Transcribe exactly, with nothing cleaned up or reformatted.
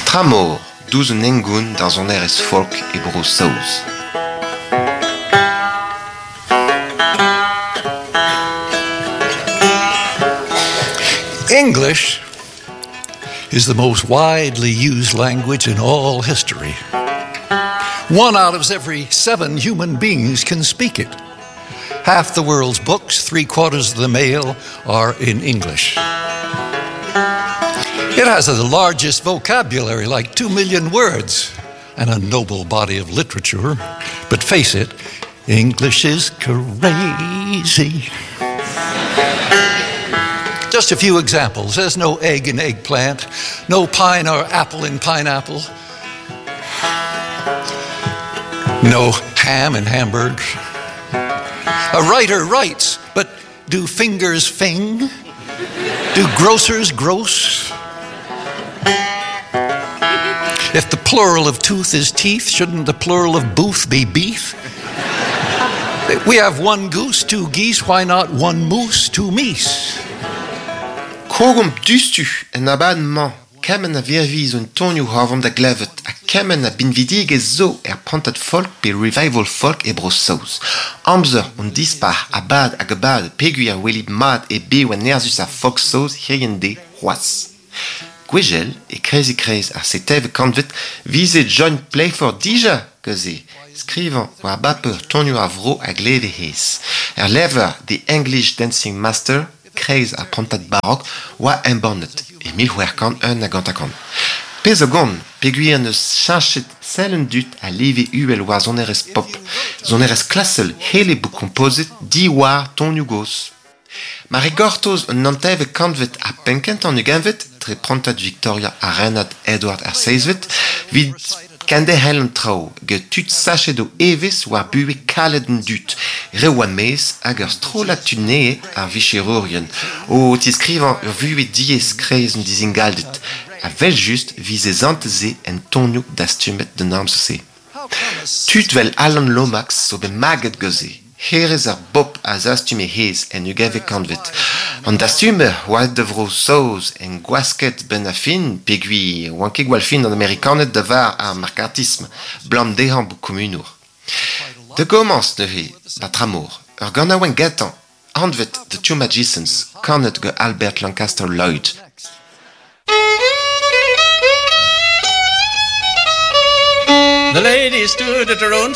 Tramor, douzh un hengoun d'ar sonerezh folk e Bro-Saoz. English is the most widely used language in all history. One out of every seven human beings can speak it. Half the world's books, three quarters of the mail are in English. It has the largest vocabulary, like two million words, and a noble body of literature. But face it, English is crazy. Just a few examples. There's no egg in eggplant, no pine or apple in pineapple, no ham in Hamburg. A writer writes, but do fingers fing? Do grocers gross? If the plural of tooth is teeth, shouldn't the plural of booth be beef? We have one goose, two geese, why not one moose, two meese? Krogomp diouzhtu en abadenn-mañ kement a virvilh zo en tonioù a da glevet ha kement a binvidigezh zo er prantad folk pe revival folk e Bro-Saoz. Amzer hon dispac'h a bad hag a bad peogwir a welit mat e bev an-nerzhus ar folk saoz hiziv-en-deiz c'hoazh. Gwechall e kreiz-e-kreiz ar seiteved kantved 'vize John Playford dija gant-se skrivañ war baper tonioù ar vro a gleve hezh. Er levr The English Dancing Master kreiz ar prantad barok oa embannet e mil c'hwec'h kant un hag hanter-kant. Pezh zo gant peogwir 'neus cheñchet sell an dud a live uhel war sonerezh pop, sonerezh klasel c'helle bout kompozet diwar tonioù gozh. Mar e gortoz an naontekvet kantved ha penn-kentañ an ugentvet dre prantad Victoria ha renad Edward ar Seizhvet 'vit kenderc'hel an traoù gant tud sachet o evezh war buhez kalet an dud, reoù a-maez hag ur strollad tud nevez ar vicherourien o tiskrivañ ur vuhez diaes 'kreiz an dizingalded ha 'vel-just 'vize santet-se en tonioù dastumet d'an amzer-se. Tud 'vel Alan Lomax zo bet maget gant-se. Hêrezh ar bobl a zastume hezh en ugentvet kantved. An dastumer oa aet da Vro-Saoz en gwasked 'benn ar fin peogwir 'oant ket gwall fin an Amerikaned da var ar markatism 'blam dezhañ bout komunour. Da gomañs neuze, 'ba Tramor, ur ganaouenn gentañ, anvet The Two Magicians, kanet gant Albert Lancaster Lloyd. The lady stood at her own